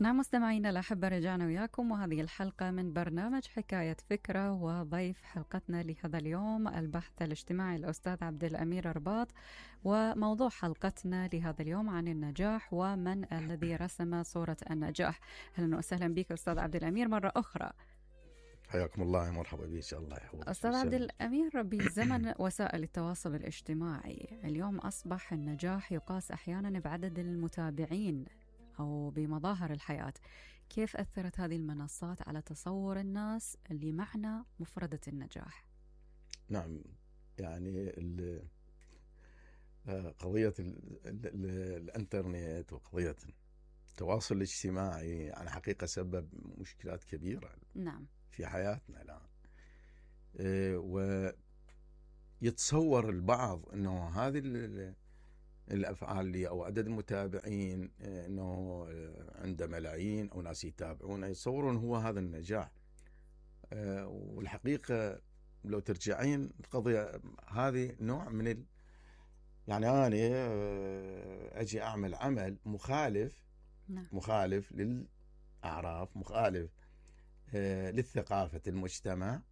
نعم مستمعينا الأحبة، رجعنا وياكم وهذه الحلقة من برنامج حكاية فكرة، وضيف حلقتنا لهذا اليوم البحث الاجتماعي الأستاذ عبد الأمير رباط. وموضوع حلقتنا لهذا اليوم عن النجاح ومن الذي رسم صورة النجاح. أهلا وسهلا بك أستاذ عبد الأمير مرة أخرى. حياكم الله، مرحبا بك، الله يحفظك. أستاذ عبد الأمير، بزمن وسائل التواصل الاجتماعي اليوم أصبح النجاح يقاس أحيانا بعدد المتابعين أو بمظاهر الحياة. كيف أثرت هذه المنصات على تصور الناس لمعنى مفردة النجاح؟ نعم، يعني قضية الانترنت وقضية التواصل الاجتماعي يعني حقيقة سبب مشكلات كبيرة نعم في حياتنا الآن. ويتصور البعض أنه هذه الأفعال اللي أو عدد المتابعين أنه عنده ملايين أو ناس يتابعونه، يتصورون هو هذا النجاح. والحقيقة لو ترجعين القضية هذه نوع من يعني أنا أجي أعمل عمل مخالف، نعم. مخالف للأعراف، مخالف للثقافة المجتمع،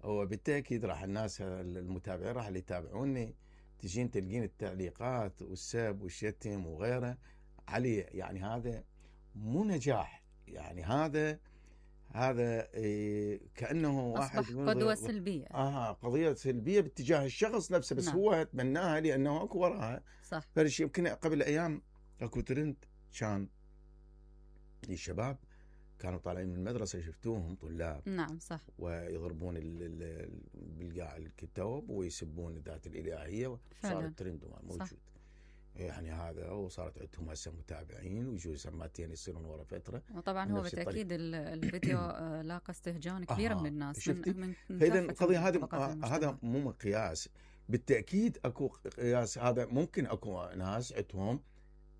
وبالتأكيد راح الناس المتابعين راح اللي يتابعوني تجين تلقين التعليقات والسب والشتم وغيره عليه. يعني هذا مو نجاح، يعني هذا كأنه واحد قدوة سلبية. قضية سلبية باتجاه الشخص نفسه، بس نعم. هو يتمناها لأنه أكو وراها. صح. فرش يمكن قبل أيام أكو ترند كان للشباب كانوا طالعين من المدرسة، شفتوهم طلاب. نعم صح. ويضربون بالقاع الكتاب ويسبون الذات الإلهية، صار الترند موجود. صح. يعني هذا، وصارت عندهم هسه متابعين ويجوز سماتين يصيرون ورا فترة. وطبعا هو بالتأكيد الفيديو لاقى استهجان كبير من الناس. فإذا القضية هذا مو مقياس. بالتأكيد أكو قياس، هذا ممكن أكو ناس عندهم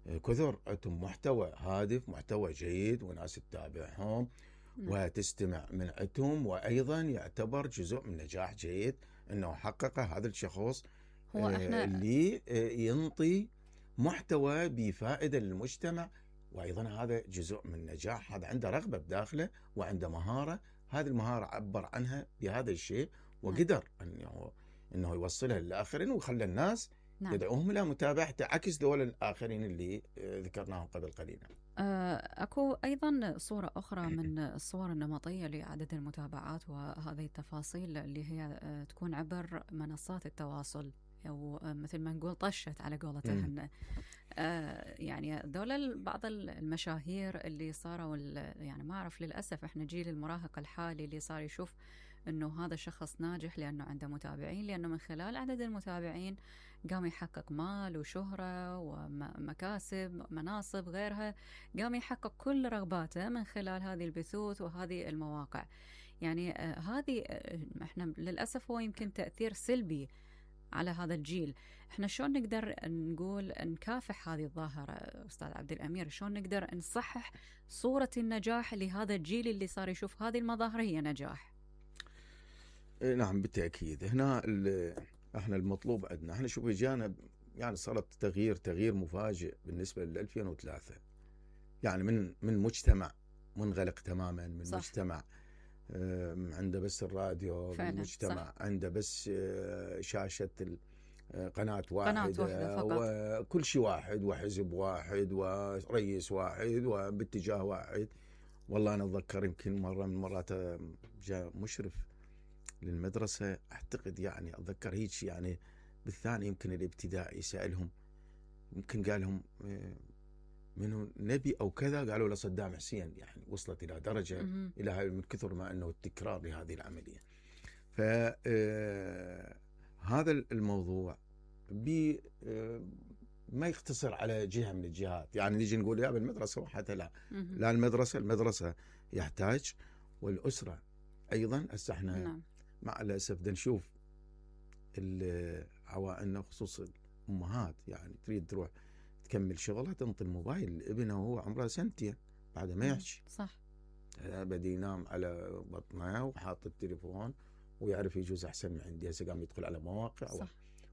كثر، عندهم محتوى هادف، محتوى جيد، وناس تتابعهم وتستمع من عندهم، وأيضا يعتبر جزء من نجاح جيد أنه حقق هذا الشخص هو اللي ينطي محتوى بفائدة للمجتمع. وأيضا هذا جزء من نجاح، هذا عنده رغبة بداخله وعنده مهارة، هذه المهارة عبر عنها بهذا الشيء وقدر أنه يوصلها للآخرين ويخلي الناس يدعوهم إلى متابعته، عكس دول الآخرين اللي ذكرناهم قبل قليل. أكو أيضا صورة أخرى من الصور النمطية لعدد المتابعات وهذه التفاصيل اللي هي تكون عبر منصات التواصل، أو مثل ما نقول طشت على قولتهن. يعني دول بعض المشاهير اللي صاروا يعني ما أعرف، للأسف إحنا جيل المراهق الحالي اللي صار يشوف أنه هذا شخص ناجح لأنه عنده متابعين، لأنه من خلال عدد المتابعين قام يحقق مال وشهرة ومكاسب مناصب غيرها، قام يحقق كل رغباته من خلال هذه البثوث وهذه المواقع. يعني هذه إحنا للأسف هو يمكن تأثير سلبي على هذا الجيل. احنا شلون نقدر نقول نكافح هذه الظاهرة أستاذ عبد الأمير؟ شلون نقدر نصحح صورة النجاح لهذا الجيل اللي صار يشوف هذه المظاهر هي نجاح؟ نعم بالتأكيد. هنا احنا المطلوب عندنا، احنا شوف جانا يعني صارت تغيير مفاجئ بالنسبة ل 2003. يعني من مجتمع منغلق تماما، من صح. مجتمع عنده بس الراديو، من مجتمع صح. عنده بس شاشة قناة واحدة وكل شيء واحد، وحزب واحد، ورئيس واحد، وباتجاه واحد. والله أنا أتذكر يمكن مرة من مرات جاء مشرف للمدرسة، أعتقد يعني أتذكر هيك يعني بالثاني يمكن الابتدائي، سألهم يمكن قال لهم منه نبي أو كذا، قالوا له صدام حسين. يعني وصلت إلى درجة إلى هاي من كثر ما أنه التكرار لهذه العملية. فهذا الموضوع ما يقتصر على جهة من الجهات. يعني نيجي نقول يا بالمدرسة وحتى لا المدرسة يحتاج، والأسرة أيضا. هسه احنا مع الأسف بدنا نشوف عوائلنا خصوص الأمهات، يعني تريد تروح تكمل شغلها تنطي الموبايل لابنها وهو عمره 2 سنين بعد ما يحكي. صح. بدي ينام على بطنه وحاط التليفون ويعرف يجوز أحسن من عندي. هسه قام يدخل على مواقع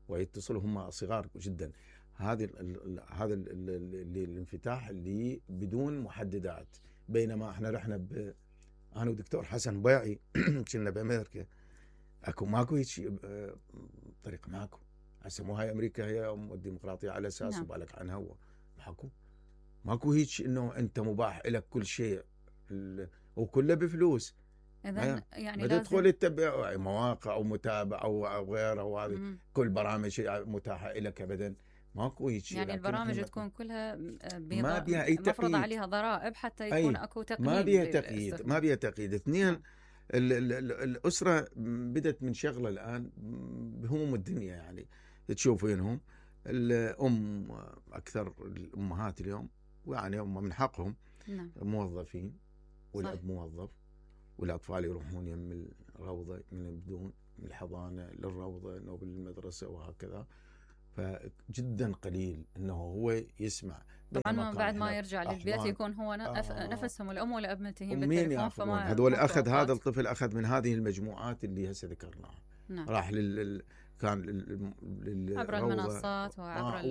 ويتصلوا هم صغار جدا. هذا الانفتاح اللي بدون محددات. بينما احنا رحنا انا ودكتور حسن بيعي كنا بامريكا، ماكو هيك طريقه، هسه مو هاي امريكا هي الديمقراطيه على اساس وبالك عنها ماكو هيك انه انت مباح لك كل شيء وكله بفلوس. اذا يعني تدخل تتبع مواقع او متابعه او غيره، وهذه كل برامج متاحه لك ابدا، ماكو هيك. يعني البرامج تكون كلها ما بيها اي تقييد، مفروض عليها ضرائب حتى يكون اكو تقييد. ما بيها تقييد. اثنين، الاسره بدت من شغله الان بهموم الدنيا، يعني تشوفينهم الام اكثر الامهات اليوم، يعني هم من حقهم موظفين والاب موظف، والاطفال يروحون يم الروضه من بدون من الحضانه للروضه او بالمدرسه وهكذا. فجدا قليل انه هو يسمع. طبعا بعد ما يرجع للبيت يكون هو نفسهم الام والاب ملتهين بالتليفون، فما هذول اخذ هذا الطفل اخذ من هذه المجموعات اللي هسه ذكرناها. راح كان عبر المنصات وعبر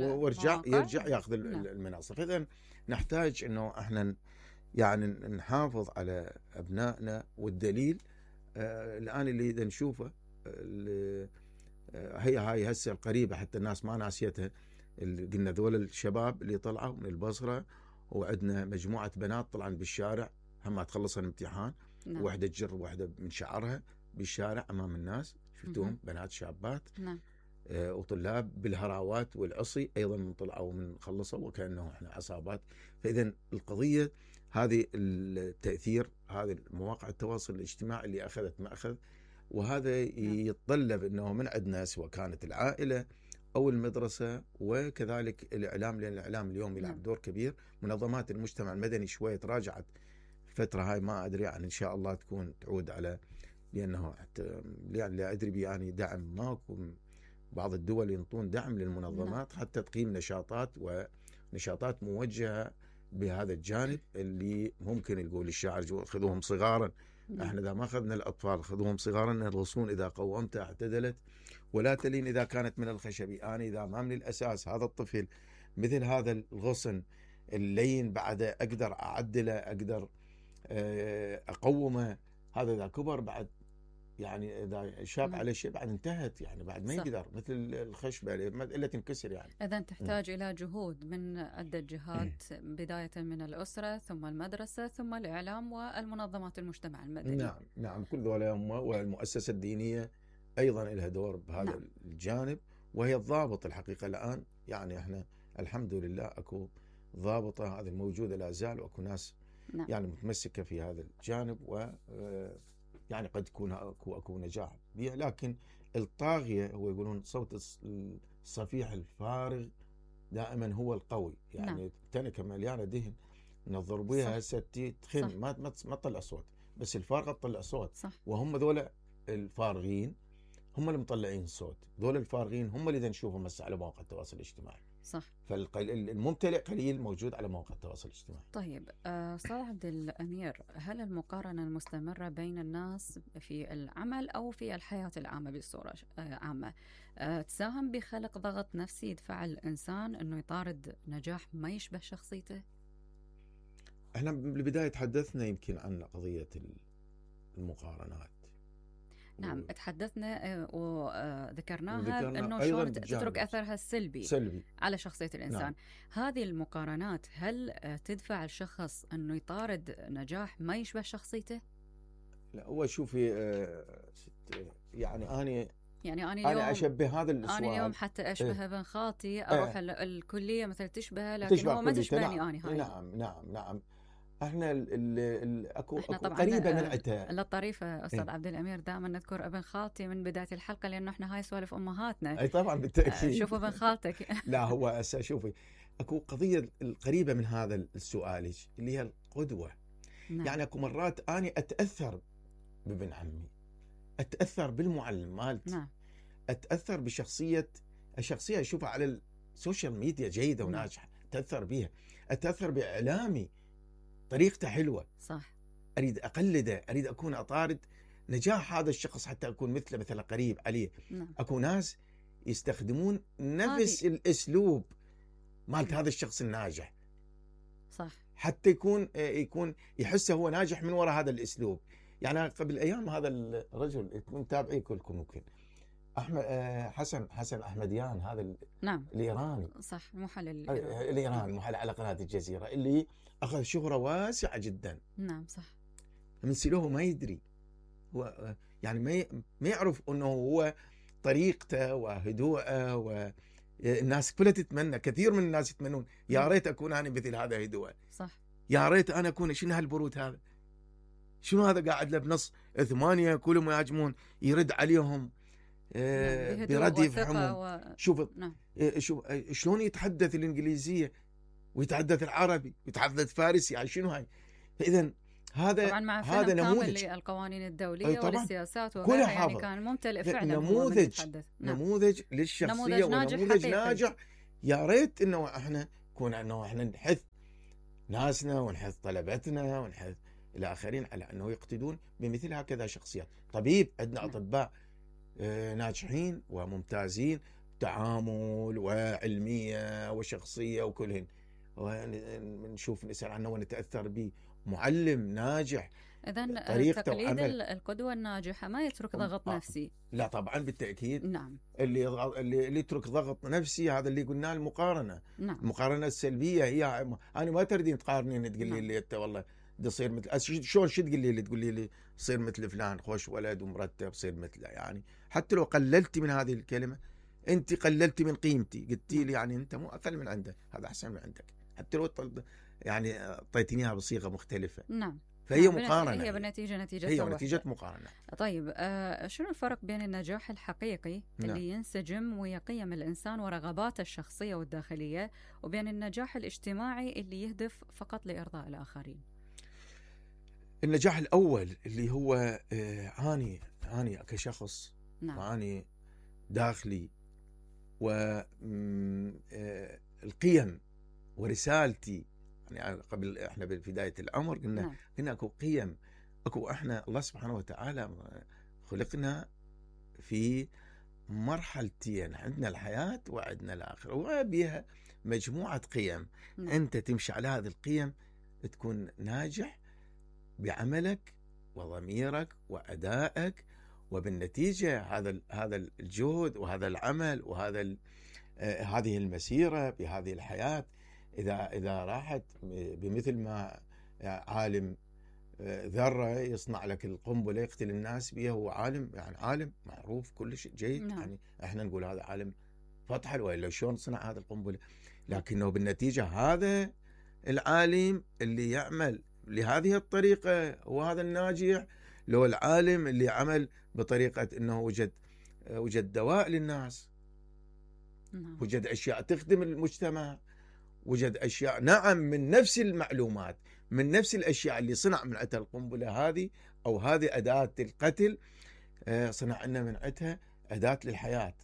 يرجع ياخذ المنصه. فاذا نحتاج انه احنا يعني نحافظ على ابنائنا. والدليل الان اللي اذا نشوفه هاي هسه القريبه، حتى الناس ما ناسيتها، اللي قلنا ذول الشباب اللي طلعوا من البصره، وعندنا مجموعه بنات طلعن بالشارع هم تخلص الامتحان، واحده تجر واحده من شعرها بالشارع امام الناس، شفتوهم بنات شابات وطلاب بالهراوات والعصي ايضا طلعوا من خلصوا وكانه احنا عصابات. فاذا القضيه هذه التاثير، هذه مواقع التواصل الاجتماعي اللي اخذت ما اخذ، وهذا يتطلب انه من عندنا سواء كانت العائله او المدرسه وكذلك الاعلام، لان الاعلام اليوم يلعب دور كبير. منظمات المجتمع المدني شويه تراجعت الفتره هاي، ما ادري يعني ان شاء الله تكون تعود على، لانه يعني لا ادري يعني دعم ماكو. بعض الدول ينطون دعم للمنظمات حتى تقيم نشاطات موجهه بهذا الجانب، اللي ممكن يقول الشاعر خذوهم صغارا. احنا اذا ما اخذنا الاطفال خذوهم صغارا الغصون اذا قومتها اعتدلت ولا تلين اذا كانت من الخشب. انا اذا ما من الاساس هذا الطفل مثل هذا الغصن اللين بعد اقدر اعدله، اقدر اقومه، هذا اذا كبر بعد يعني اذا شاب على شيء بعد انتهت، يعني بعد ما يقدر مثل الخشبه الا تنكسر. يعني اذا تحتاج الى جهود من عده جهات، بدايه من الاسره ثم المدرسه ثم الاعلام والمنظمات المجتمع المدني. نعم كل ذولا والمؤسسه الدينيه ايضا لها دور بهذا الجانب، وهي الضابط الحقيقه الان. يعني احنا الحمد لله اكو ضابطه هذه الموجوده لا زال، واكو ناس يعني متمسكه في هذا الجانب، و يعني قد يكون اكو نجاح بها. لكن الطاغيه هو يقولون صوت الصفيح الفارغ دائما هو القوي. يعني تنكه مليانه دهن نضرب بها هسه تخن ما تطلع صوت، بس الفارغه تطلع صوت. وهم ذولا الفارغين هم اللي مطلعين الصوت، ذولا الفارغين هم اللي نشوفهم هسه على مواقع التواصل الاجتماعي. فالممتلئ قليل موجود على مواقع التواصل الاجتماعي. طيب استاذ عبد الامير، هل المقارنه المستمره بين الناس في العمل او في الحياه العامه بصوره عامه تساهم بخلق ضغط نفسي يدفع الانسان انه يطارد نجاح ما يشبه شخصيته؟ احنا بالبدايه تحدثنا يمكن عن قضيه المقارنات. نعم تحدثنا وذكرناها انه شلون تترك اثرها السلبي على شخصية الانسان. هذه المقارنات هل تدفع الشخص انه يطارد نجاح ما يشبه شخصيته؟ لا هو شوفي يعني انا اليوم اشبه هذا السؤال. انا اليوم حتى اشبه ابن خالتي اروح الكليه مثلا تشبهه، لكن هو ما تشبهني انا. هاي نعم احنا اكو قريبه من عتها. الطريفه استاذ عبد الامير دائما نذكر ابن خالتي من بدايه الحلقه، لانه احنا هاي سوالف امهاتنا. اي طبعا بالتاكيد. شوفوا ابن خالتك. لا هو هسه شوفي اكو قضيه القريبه من هذا السؤال اللي هي القدوه. يعني اكو مرات اني اتاثر بابن عمي، اتاثر بالمعلم مالتي، اتاثر بشخصيه الشخصيه اشوفها على السوشيال ميديا جيده وناجحه، اتاثر بها، اتاثر باعلامي طريقته حلوه، صح، اريد اقلده، اريد اكون اطارد نجاح هذا الشخص حتى اكون مثله، مثلا قريب عليه. اكو ناس يستخدمون نفس الاسلوب مالت هذا الشخص الناجح، صح. حتى يكون يحس هو ناجح من وراء هذا الاسلوب. يعني قبل ايام هذا الرجل يكون تابعيه كلكم ممكن، احمد حسن احمديان، هذا نعم الايراني، صح، محلل الايراني محلل على قناه الجزيره، اللي اخذ شهره واسعه جدا. نعم صح. من سلوه ما يدري، هو يعني ما يعرف انه هو طريقته وهدوءه، والناس كلها تتمنى، كثير من الناس يتمنون يا ريت اكون انا مثل هذا هدوء، صح، يا ريت انا اكون. شنو هالبرود هذا؟ شنو هذا قاعد له بنص 8 كلهم يهاجمون، يرد عليهم برد يفهمون. شوف نعم. شوف شلون يتحدث الانجليزيه ويتحدث العربي ويتحدث فارسي، يعني شنو هاي؟ فاذا هذا طبعا مع هذا نموذج للقوانين الدوليه والسياسات كلها وغيرها، يعني كان ممتلئ فعلا. نموذج للشخصيه ونموذج ناجح. يا ريت انه احنا نحث ناسنا ونحث طلبتنا ونحث الاخرين على انه يقتدون بمثل هكذا شخصيات. طبيب، عندنا اطباء ناجحين وممتازين، تعامل وعلميه وشخصيه وكلهن، ونشوف نسال عنه ونتاثر به. معلم ناجح، إذن تقليد القدوة الناجحة ما يترك ضغط نفسي. لا طبعا بالتأكيد. نعم. اللي يترك ضغط نفسي هذا اللي قلناه المقارنة. نعم. المقارنة السلبية هي أنا ما تردين تقارنين تقول لي أنت والله تصير مثل شلون، شو تقولي لي صير مثل فلان، خوش ولد ومرتب صير مثله. يعني حتى لو قللتي من هذه الكلمة أنت قللتي من قيمتي، قلتي لي يعني أنت مو أقل من عنده، هذا أحسن من عندك، حتى لو يعني أعطيتينيها بصيغة مختلفة. نعم. فهي مقارنة، هي نتيجة هي نتيجة مقارنة. طيب شنو الفرق بين النجاح الحقيقي اللي ينسجم ويا قيم الإنسان ورغباته الشخصية والداخلية، وبين النجاح الاجتماعي اللي يهدف فقط لإرضاء الآخرين؟ النجاح الأول اللي هو أني كشخص، نعم. وأني داخلي والقيم ورسالتي. يعني قبل احنا ببدايه الامر قلنا اكو قيم، اكو احنا الله سبحانه وتعالى خلقنا في مرحلتين، عندنا الحياه وعندنا الاخره، وبها مجموعه قيم. انت تمشي على هذه القيم تكون ناجح بعملك وضميرك وادائك، وبالنتيجه هذا الجهد وهذا العمل وهذا هذه المسيره بهذه الحياه إذا راحت بمثل ما عالم ذرة يصنع لك القنبلة يقتل الناس بها، هو عالم، يعني عالم معروف كل شيء جيد. يعني احنا نقول هذا عالم فطحل، وإلا شلون صنع هذا القنبلة، لكنه بالنتيجة هذا العالم اللي يعمل لهذه الطريقة هو هذا الناجح. لو العالم اللي عمل بطريقة انه وجد دواء للناس، وجد اشياء تخدم المجتمع، وجد أشياء نعم من نفس المعلومات، من نفس الأشياء اللي صنع من عتها القنبلة هذه أو هذه أداة القتل، صنع لنا من عتها أداة للحياة.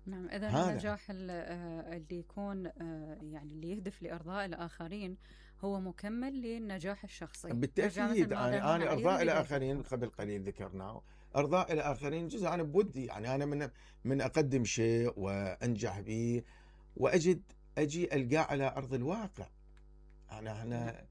نعم. إذا النجاح اللي يكون يعني اللي يهدف لإرضاء الآخرين هو مكمل للنجاح الشخصي بالتأكيد. أنا إرضاء الآخرين قبل قليل ذكرناه، إرضاء الآخرين جزء أنا بودي، يعني أنا من أقدم شيء وأنجح به أجي ألقاه على أرض الواقع. احنا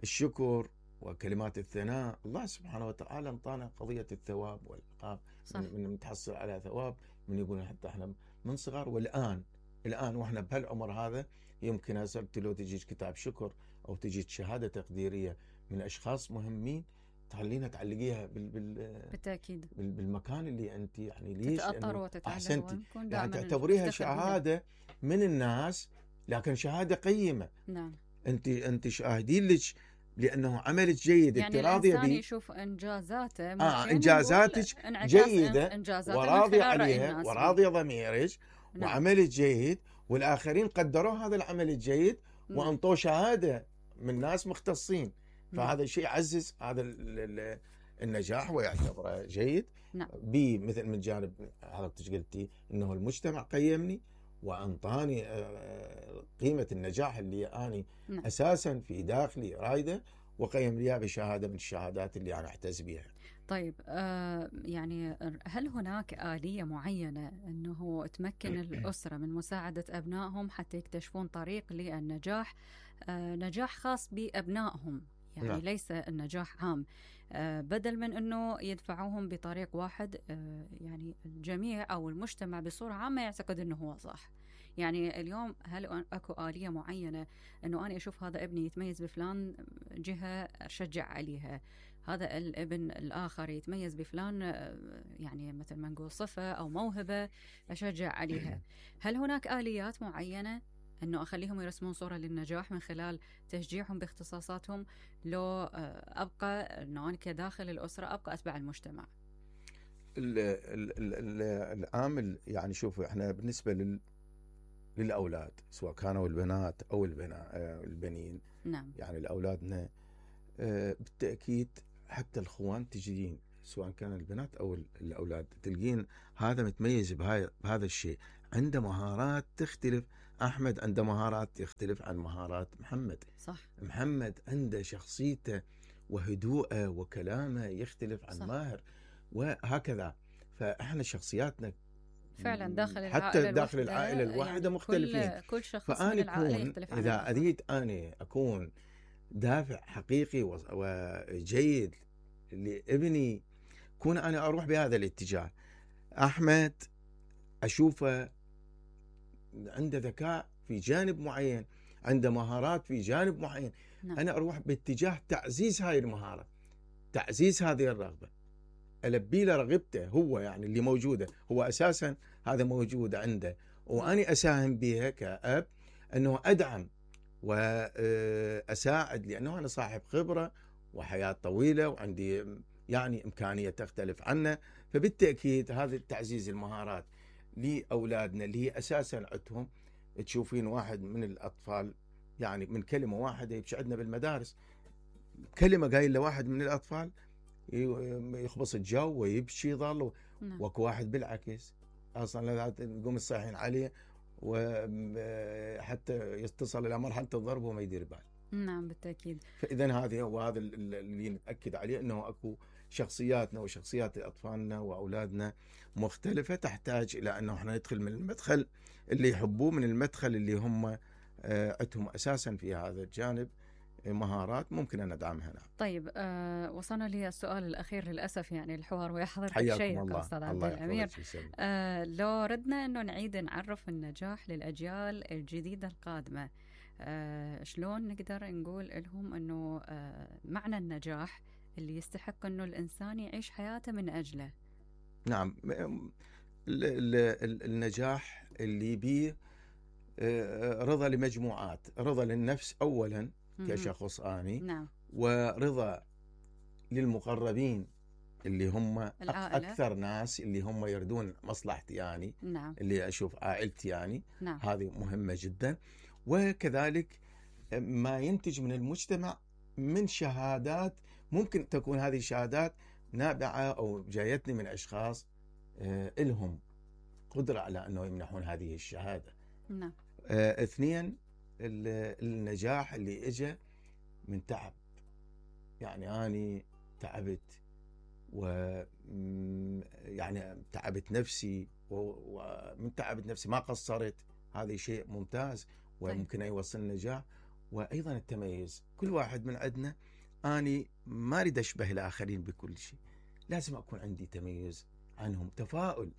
الشكر وكلمات الثناء، الله سبحانه وتعالى انطانا قضية الثواب والعقاب، من نتحصل على ثواب، من يقولون حتى احنا من صغار. والآن واحنا بهالعمر هذا يمكن هسه لو تجيك كتاب شكر أو تجيك شهادة تقديرية من أشخاص مهمين، تخلينا تعلقيها بالتأكيد بالمكان اللي أنت يعني ليش أحسنتي، يعني تعتبريها شهادة من الناس، لكن شهادة قيمة. نعم. أنت شاهدين لك لأنه عملك جيد، يعني الإنسان يشوف إنجازاته، إنجازاتك جيدة وراضي عليها وراضي ضميرك، وعملك جيد، والآخرين قدروا هذا العمل الجيد وأنطوا شهادة من ناس مختصين. فهذا الشيء يعزز هذا النجاح ويعتبره جيد. مثل من جانب حضرتك قلتي انه المجتمع قيمني وانطاني قيمة النجاح اللي اني اساسا في داخلي رايده، وقيم لي بشهادة من الشهادات اللي انا احتز بها. طيب يعني هل هناك آلية معينة أنه تمكن الأسرة من مساعدة أبنائهم حتى يكتشفون طريق للنجاح، نجاح خاص بأبنائهم، يعني نعم. ليس النجاح عام، بدل من أنه يدفعوهم بطريق واحد، يعني الجميع أو المجتمع بصورة عامة يعتقد أنه هو صح. يعني اليوم هل أكو آلية معينة أنه أنا أشوف هذا ابني يتميز بفلان جهة أشجع عليها، هذا الابن الآخر يتميز بفلان يعني مثل ما نقول صفة أو موهبة أشجع عليها؟ هل هناك آليات معينة أنه أخليهم يرسمون صورة للنجاح من خلال تشجيعهم باختصاصاتهم، لو أبقى أنه أنا كداخل الأسرة أبقى أتبع المجتمع؟ العامل يعني شوفوا احنا بالنسبة للأولاد سواء كانوا البنات أو البنين، نعم. يعني الأولادنا بالتأكيد حتى الأخوان تجدين سواء كان البنات أو الأولاد تلقين هذا متميز بهذا الشيء، عنده مهارات تختلف. أحمد عنده مهارات يختلف عن مهارات محمد. صح. محمد عنده شخصيته وهدوءه وكلامه يختلف عن صح. ماهر، وهكذا. فإحنا شخصياتنا فعلا داخل حتى داخل العائلة الواحدة يعني مختلفين. كل شخص من العائلة يختلف عن إذا أريد أنا أكون دافع حقيقي وجيد لابني، كون أنا أروح بهذا الاتجاه. أحمد أشوفه عنده ذكاء في جانب معين، عنده مهارات في جانب معين. نعم. أنا أروح باتجاه تعزيز هاي المهارة، تعزيز هذه الرغبة، ألبي له رغبته هو، يعني اللي موجودة هو أساسا هذا موجود عنده، وأني أساهم بها كأب أنه أدعم وأساعد، لأنه أنا صاحب خبرة وحياة طويلة وعندي يعني إمكانية تختلف عنه. فبالتأكيد هذا تعزيز المهارات لأولادنا اللي هي أساسا عندهم. تشوفين واحد من الأطفال يعني من كلمة واحدة يبشعدنا بالمدارس، كلمة قايل لواحد من الأطفال يخبص الجو ويبكي يظل. وكو واحد بالعكس أصلا لا تقوم الصاحين عليه وحتى يتصل إلى مرحلة الضرب وما يدير بال. نعم بالتأكيد. فإذا هذا اللي نتأكد عليه، أنه أكو شخصياتنا وشخصيات أطفالنا وأولادنا مختلفة، تحتاج إلى أنه احنا ندخل من المدخل اللي يحبوه، من المدخل اللي هم عندهم أساسا في هذا الجانب مهارات ممكن أن ندعمها. نعم. طيب وصلنا لي السؤال الأخير للأسف، يعني الحوار ويحضر حياكم أستاذ عبد الأمير. لو ردنا أنه نعيد نعرف النجاح للأجيال الجديدة القادمة، شلون نقدر نقول لهم أنه معنى النجاح اللي يستحق أنه الإنسان يعيش حياته من أجله؟ نعم. النجاح اللي بيه رضا لمجموعات، رضا للنفس أولا كشخص آني. نعم. ورضا للمقربين اللي هم العائلة. أكثر ناس اللي هم يردون مصلحتي يعني. نعم. اللي أشوف عائلتي يعني. نعم. هذه مهمة جدا. وكذلك ما ينتج من المجتمع من شهادات، ممكن تكون هذه الشهادات نابعة أو جايتني من أشخاص لهم قدرة على أنه يمنحون هذه الشهادة. نعم. اثنين، النجاح اللي اجى من تعب، يعني أنا تعبت يعني تعبت نفسي، ومن تعبت نفسي ما قصرت، هذا شيء ممتاز وممكن يوصل النجاح. وأيضا التميز، كل واحد من عندنا أنا ما أريد أشبه الآخرين بكل شيء، لازم أكون عندي تميز عنهم. تفاؤل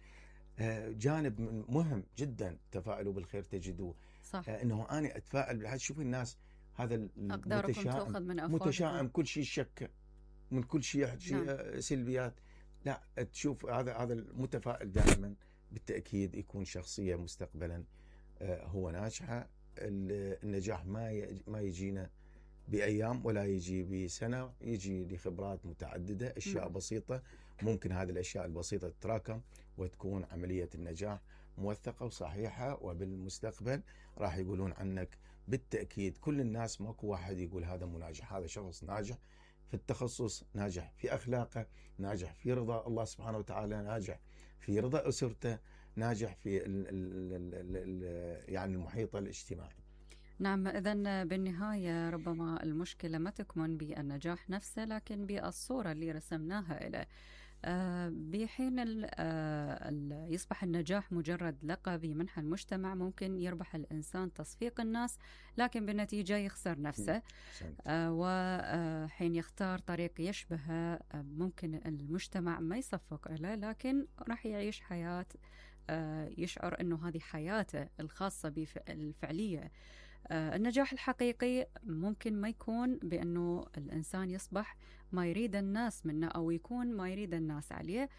جانب مهم جدا، تفاؤلوا بالخير تجدوه. صح. انه انا اتفائل بالحياه. شوف الناس هذا متشائم كل شيء شك، من كل شيء يحكي نعم. سلبيات. لا، تشوف هذا المتفائل دائما بالتاكيد يكون شخصيه مستقبلا هو ناجحه. النجاح ما يجينا بايام ولا يجي بسنه، يجي لخبرات متعدده، اشياء نعم. بسيطه ممكن هذه الاشياء البسيطه تتراكم وتكون عمليه النجاح موثقة وصحيحة. وبالمستقبل راح يقولون عنك بالتأكيد كل الناس، ماكو واحد يقول هذا مو ناجح، هذا شخص ناجح في التخصص، ناجح في أخلاقه، ناجح في رضا الله سبحانه وتعالى، ناجح في رضا أسرته، ناجح في يعني المحيط الاجتماعي. نعم، إذن بالنهاية ربما المشكلة ما تكمن بالنجاح نفسه لكن بالصورة اللي رسمناها له. بحين يصبح النجاح مجرد لقب يمنحه المجتمع، ممكن يربح الإنسان تصفيق الناس لكن بالنتيجة يخسر نفسه. وحين يختار طريق يشبهه ممكن المجتمع ما يصفق له، لكن راح يعيش حياة يشعر أنه هذه حياته الخاصة بالفعلية. النجاح الحقيقي ممكن ما يكون بأنه الإنسان يصبح ما يريد الناس منه أو يكون ما يريد الناس عليه،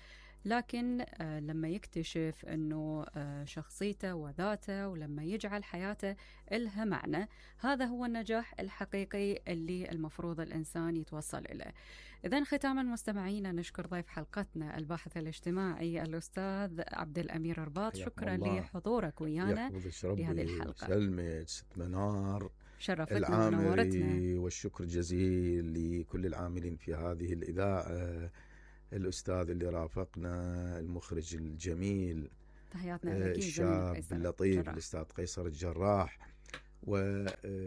لكن لما يكتشف أنه شخصيته وذاته، ولما يجعل حياته إلها معنى، هذا هو النجاح الحقيقي اللي المفروض الإنسان يتوصل إليه. إذن ختاما مستمعينا، نشكر ضيف حلقتنا الباحث الاجتماعي الأستاذ عبد الأمير رباط. شكرا لحضورك ويانا لهذه الحلقة. سلمى ست منار، شرفتنا ونورتنا. والشكر جزيل لكل العاملين في هذه الإذاعة، الأستاذ اللي رافقنا، المخرج الجميل، تحياتنا لك الشاب اللطيف الأستاذ قيصر الجراح، وإدارة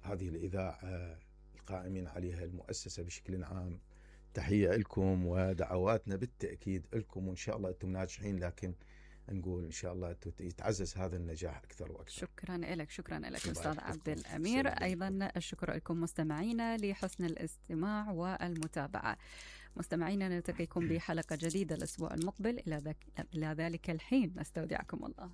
هذه الإذاعة القائمين عليها، المؤسسة بشكل عام. تحية لكم ودعواتنا بالتأكيد لكم، وإن شاء الله أنتم ناجحين، لكن نقول إن شاء الله يتعزز هذا النجاح أكثر وأكثر. شكرا لك، شكرا لك أستاذ عبد الأمير. أيضا الشكر لكم مستمعينا لحسن الاستماع والمتابعة. مستمعينا، نلتقيكم بحلقة جديدة الأسبوع المقبل. إلى ذلك الحين نستودعكم الله.